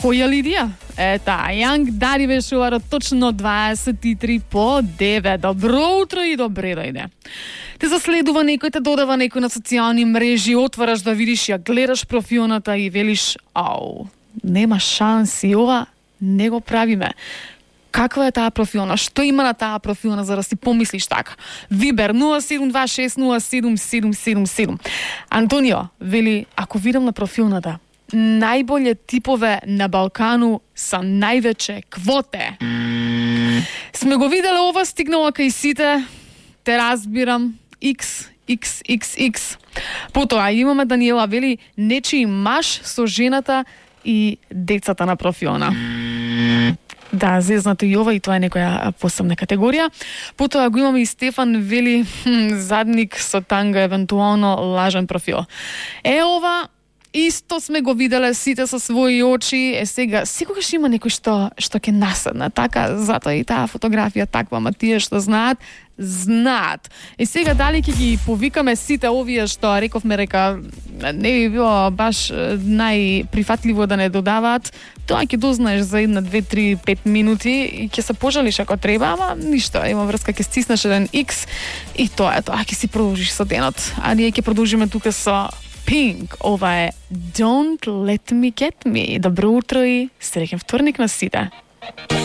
Која Лидија? Јанг Дари беше ова точно 23 по 9. Добро утро и добре дојде. Те заследува некој, те додава некој на социјални мрежи, отвараш да видиш, ја гледаш профилната и велиш, ау, нема шанси, ова не го правиме. Каква е таа профилна? Што има на таа профилна за да си помислиш така? Вибер 0726077777. Антонио вели, ако видам на профилната, најболje типове на Балкану са највече квоте. Сме го виделе ова, стигнала кај сите, те разбирам, XXXX. Потоа имаме Даниела, вели, нечи маж со жената и децата на профилна. Да, зезнато и ова, и тоа е некоја посебна категорија. Потоа го имаме и Стефан, вели, задник со танга, евентуално лажен профил. Ова исто сме го виделе сите со своји очи. Сега, секогаш има некој што ќе наседне. Така, затоа и таа фотографија таква, ама тие што знаат. Сега дали ќе ги повикаме сите овие што рековме, не би било баш најприфатливо да не додаваат. Тоа ќе дознаеш за 1, 2, 3, 5 минути и ќе се пожалиш ако треба, ама ништо, има врска, ќе стиснеш еден X и тоа е тоа, ќе си продолжиш со денот. А ние ќе продолжиме тука со Pink. Ова е Don't Let Me Get Me. Добро утро и среќен вторник на сите.